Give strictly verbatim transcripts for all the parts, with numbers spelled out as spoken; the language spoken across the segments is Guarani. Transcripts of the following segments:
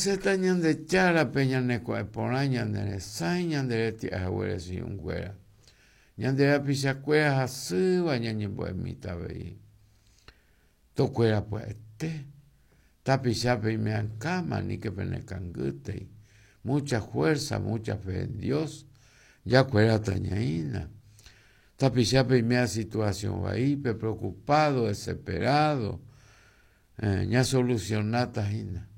Ñasẽta Ñandejárape ñaneko'ẽporã ñaneresãi ñanderetia'ehaguére chi'ũnguéra. Ñande rapichakuéra hasýva ñañembo'emíta avei. Tokuéra pya'ete. Tapichápe ime'ãkáma aníke penekangýtei. Mucha fuerza, mucha fe en Dios. Jakuéra tañaína. Tapichápe ime'a situación vaípe, preocupado, desesperado. Eh, ñasolucionáta hína.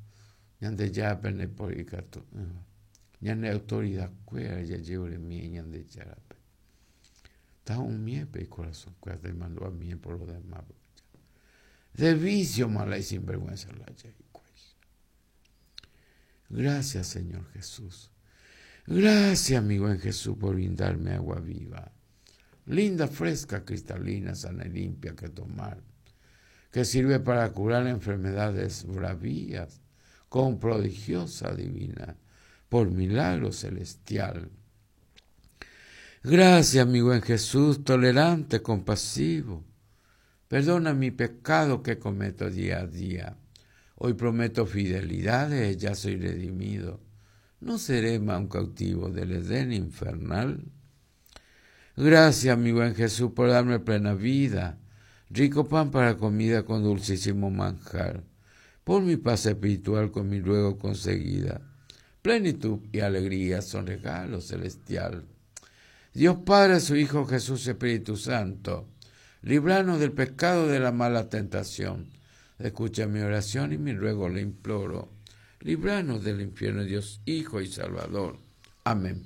Ñandejárape ndaiporikatu'ỹva. Ñane autoridadkuéra jajevoremie Ñandejárape. Tahu'ũmiépe icorazonkuéra taimandu'amie por lo demás. De vicio mala y sinvergüenza la hikuái. Gracias, Señor Jesús. Gracias, mi buen Jesús, por brindarme agua viva. Linda, fresca, cristalina, sana y limpia que tomar. Que sirve para curar enfermedades bravías con prodigiosa divina, por milagro celestial. Gracias, mi buen Jesús, tolerante, compasivo. Perdona mi pecado que cometo día a día. Hoy prometo fidelidades, ya soy redimido. No seré más un cautivo del Edén infernal. Gracias, mi buen Jesús, por darme plena vida, rico pan para comida con dulcísimo manjar, por mi paz espiritual con mi ruego conseguida. Plenitud y alegría son regalo celestial. Dios Padre, su Hijo Jesús, Espíritu Santo, líbranos del pecado de la mala tentación. Escucha mi oración y mi ruego le imploro. Líbranos del infierno, Dios, Hijo y Salvador. Amén.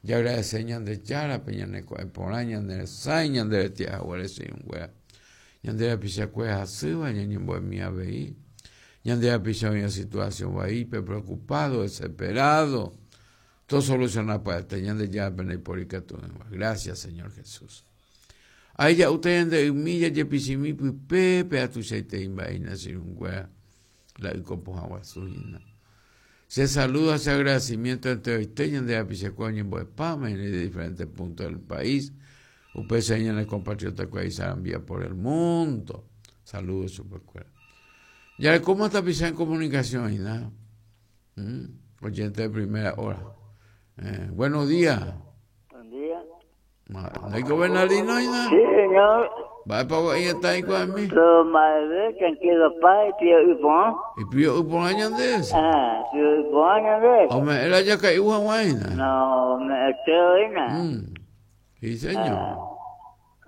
Ya agradece Ñandejárape, ñaneko'ẽporã, ñaneresãi, ñanderetia'ehaguére chi'ũnguéra. Ñande rapichakuéra hasýva, ñañembo'emi avei. Ñande rapicha oĩva situación vaípe, preocupado, desesperado. Todo solucionar pya'ete Ñandejárape ndaiporikatu'ỹva. Gracias, Señor Jesús. Ahí ya ustedes de humilla jepichimi pype atuichaite mba'éina chi'ũnguéra. La ykopohã guasu hína. Se saluda ese agradecimiento entre usted, ñande rapichakuéra oñembo'epáma de diferentes puntos del país. Upe ñane compatriota que ahí por el mundo. Saludos chupekuéra. Ya, ¿cómo está pisando en comunicación hína? ¿Mm? Oyente de primera hora. Eh, buenos días. Buen día. ¿No Bernardino hína? Sí, señor. Va para ahí está ahí con mí. Lo madre, tranquilo, pai, tío Ipón. ¿Y pío Ipón añandés? Ah, tío Ipón añandés. Hombre, era ya que iba guayna. No, me estoy hína. Mm. Sí, señor.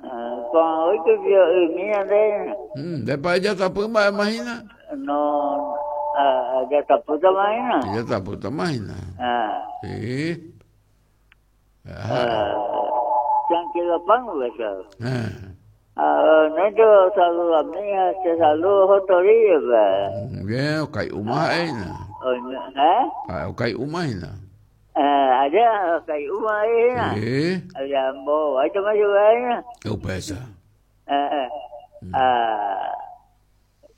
Ah, con hoy que pío Ipón añandés. Mm, de para allá está pumba, imagina. No, ah, ya está puta imagina. Ya está puta imagina. Ah. Sí. Ah, tranquilo, pan, ¿verdad? Ah. Ah, no te saludo a mi hija, te saludo otro día, ¿verdad? Bien, ok, uma hína. ¿Eh? Ok, uma hína. Ah, allá, ok, uma hína. Sí. Allá, bo, ahí te me ayuda hína. ¿Qué pesa? Ah, ah,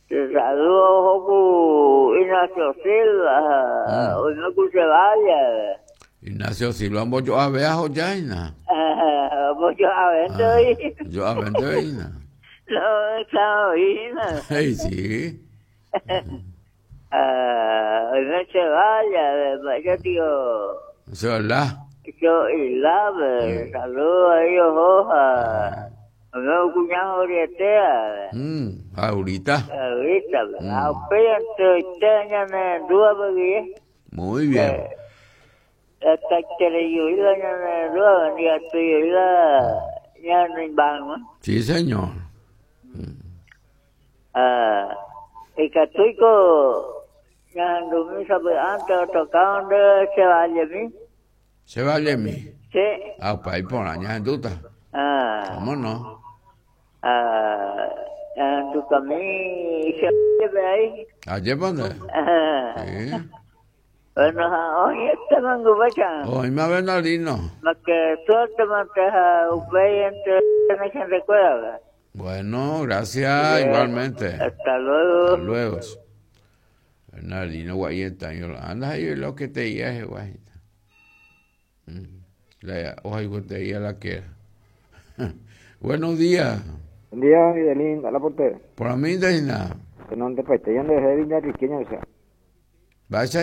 te saludo Joku Ignacio Silva, hoy no se vaya. Ignacio Silva, yo a ver a Joyaina. Yo a ver, Yo a ver, hína. No, está hína. Sí, sí. Ah, no se vaya, yo digo. Eso es verdad. Yo y la, saludo a ellos, hoja. Mi cuñado Orietea. Mm, ahorita. Ahorita, mm. Muy bien. Sí, señor. Ah, y catuico Se vale mi. Sí. Ah, pa ahí por años en duda. Ah. ¿Cómo no? Ah, en tu camino se ahí. ¿Allí dónde? Ah. Sí. Bueno, hoy este mango vayan. Hoy me Bernardino. Más que suerte manteja upey entre me recuerda. Bueno, gracias, Bien. igualmente. Hasta luego. Hasta luego. Bernardino Guayeta, yo anda ahí lo que te dije, guayeta. La hoja que te dije la que era. Buenos días. Buen día, Fidelín, a la portera. Por a mí, Deina. Que no te paiste, yo no dejé de riqueño, o sea. Vaya